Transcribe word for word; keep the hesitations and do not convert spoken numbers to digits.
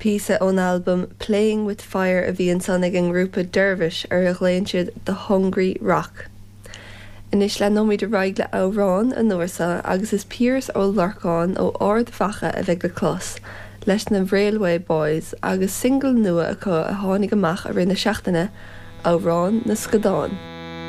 Píosa ón albam Playing with Fire a bhí ansan ag an ngrúpa Dervish ar a nglaonn siad The Hungry Rock. Anois leanfaimid ar aghaidh le amhrán an uair seo agus is Piaras Ó Lorcáin ó Ard Mhacha a bheidh le clos leis na Railway Boys agus single nua acu a tháinig amach i rith na seachtaine amhrán na scadán.